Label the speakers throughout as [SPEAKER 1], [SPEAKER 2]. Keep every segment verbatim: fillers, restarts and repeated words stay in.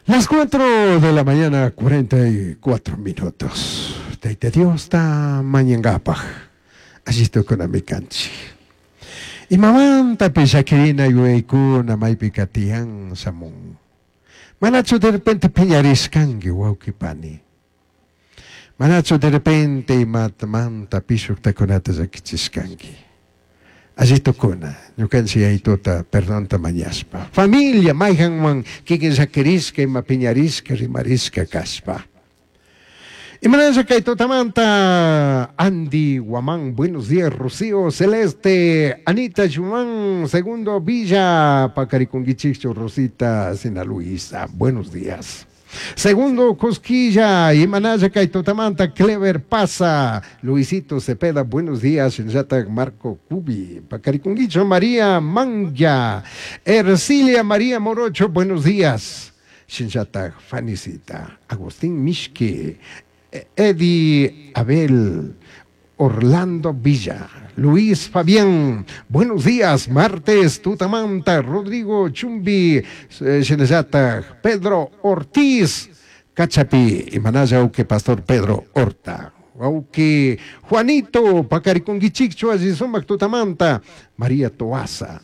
[SPEAKER 1] Las cuatro de la mañana, cuarenta y cuatro minutos. Tayta Diosta mañangapaj. Alli tukunami kanchik. Imamanta llakirina yuyaykuna maypika tiyan shamun. Manachu de repente piñarishkanki, wawqi pani? Manachu de repente imatamanta pishuktakunata llakichishkanki? Alli tukuna, ñukanchik Yayituta perdonta mañashpa. Familia mayhanman kikin llakirishka, ima piñarishka, rimarishka kashpa. Imanasha kay tutamanta Andy Guamán, buenos días. Rocío Celeste, Anita Chumán, Segundo Villa, Pacariconguichicho, Rosita Sina Luisa, buenos días. Segundo Cosquilla, Imanaya kay tutamanta, Clever Pasa, Luisito Cepeda, buenos días. Shinllata Marco Cubi, Pacariconguicho, María Manga, Ercilia María Morocho, buenos días. Shinllata Fanicita, Agustín Mishke, Eddie Abel, Orlando Villa, Luis Fabián, buenos días, martes, tutamanta, Rodrigo Chumbi, Shinallata, Pedro Ortiz, Cachapi, Imanaya uke Pastor Pedro Horta. Auque Juanito, Pacariconguichicho, Sumac tutamanta, María Toaza,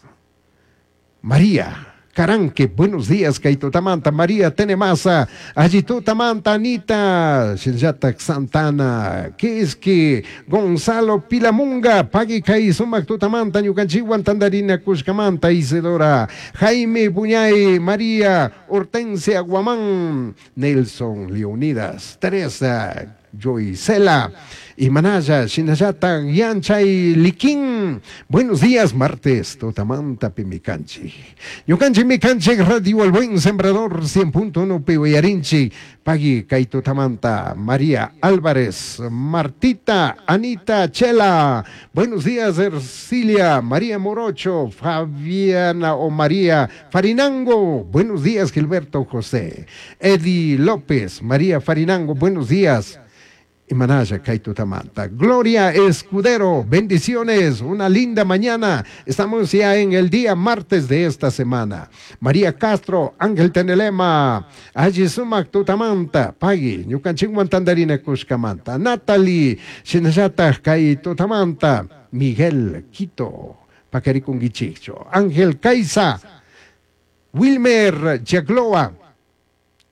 [SPEAKER 1] María Caranque, buenos días, kay tutamanta, María Tenemasa, Allitutamanta, Anita, Shinllata Santana, que Gonzalo Pilamunga, Pagui kay sumac tutamanta, ñukanchikwan tandarina kushkamanta, Isidora, Jaime Buñay, María, Hortensia Guamán, Nelson Leonidas, Teresa, Joycela, Imanaya, Shinallata, Yanchay, Liquín. Buenos días, martes, tutamanta pi mikanchik. Ñukanchik mikanchik, Radio El Buen Sembrador, cien punto uno pi uyarinchik. Pagui kay tutamanta, María Álvarez, Martita, Anita Chela. Buenos días, Ercilia, María Morocho, Fabiana o María Farinango. Buenos días, Gilberto José. Eddie López, María Farinango, buenos días. Imanaya kay tutamanta. Gloria Escudero, bendiciones, una linda mañana. Estamos ya en el día martes de esta semana. María Castro, Ángel Tenelema, Alli sumac tutamanta, Pagui, ñukanchikwan tandarina kushkamanta. Natalie, Shinallata kay tutamanta, Miguel Quito, Pacarikunguichicho, Ángel Caiza, Wilmer Yagloa.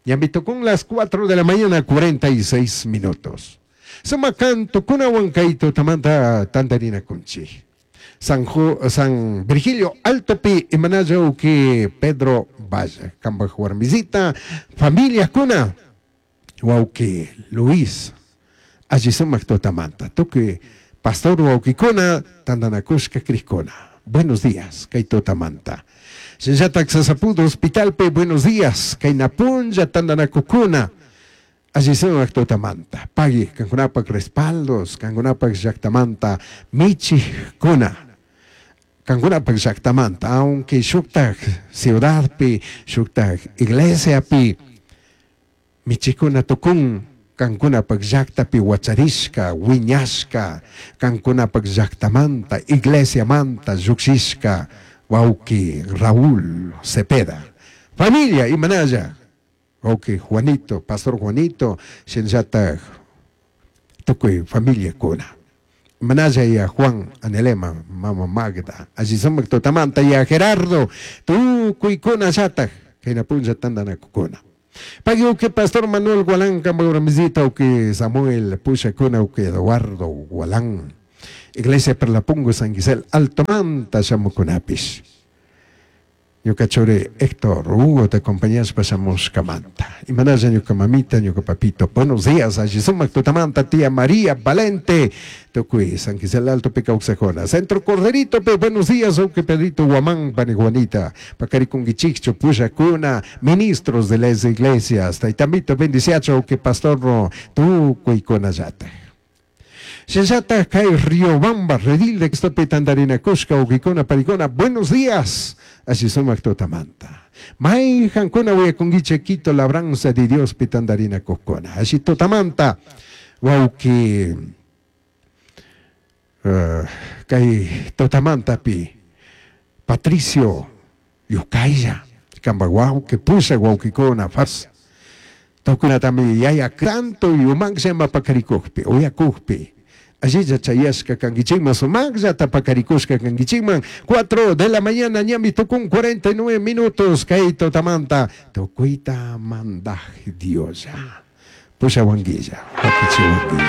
[SPEAKER 1] Ya me tocó las cuatro de la mañana, cuarenta y seis minutos. Sumac canto kunawan kay tutamanta tandarina kunchik. San, Ju, San Virgilio Altopi imanayo que Pedro Vaya, Kamba warmisita, familia kuna, wauki Luis, alli sumac tutamanta, tukuy pastor waukikuna, tandanakushka crikuna. Buenos días, kay tutamanta. Shinllata Sasapudo Hospitalpe, buenos días, kay punlla tandanakukuna. Alli sumac tutamanta. Pagui, kankunapak respaldos, kankunapak llaktamanta, michikuna. Kankunapak llaktamanta, aunque shuktak ciudadpi, shuktak iglesiapi, michikuna tukun, kankunapak llaktapi wacharishka, wiñashka, kankunapak llaktamanta, iglesiamanta, llukshishka, wauki Raúl Cepeda. Familia, imanaya, wauki Juanito, Pastor Juanito, shinllata tukuy familia kuna. Manaya ya Juan Anelema, Mama Magda, alli sumac tutamanta ya Gerardo, tukuykuna llatak, kayna punlla tandanakukuna. Pagui uke Pastor Manuel Gualán, warmisita uke Samuel Pushakuna uke Eduardo Gualán. Iglesia Perlapungo San Gisel, Altomanta shamukunapish. Ñuka churi Héctor Hugo te acompañas pasamos kamanta. Imanaya ñuka mamita, ñuka papito. Buenos días, alli sumac tutamanta, tía María Valente. Tukuy, San Gisel Alto Picauxejona. Centro Corderito, pe, buenos días, uke Pedrito Guamán, Paniguanita. Pacarikunguichicho, Pushacuna, ministros de las iglesias. Taitamito, bendiciacho, uke pastor, tukuy konayate. Shinllata kay Riobamba, Redil de Xtope Tandarina Kushka, Ukikuna, Paricona, buenos días. Alli sumac tutamanta. Mayhankuna uyakunguiche Quito, labranza de Dios pitandarina kukuna. Alli tutamanta. Wauki uh, kay tutamanta pi Patricio Yukaya. Kamba wauki pusha waukikuna fas. Tukunatami yaya tanto yumaqllama pakarikukpi, uyakukpi. Allilla chayashka kankichikman, sumaqllata pakarikushka kankichikman. Cuatro de la mañana ñami tukun cuarenta y nueve minutos kay tutamanta. Tukuyta mandaj Dioslla. Pushawanguilla, wakichiwanguilla.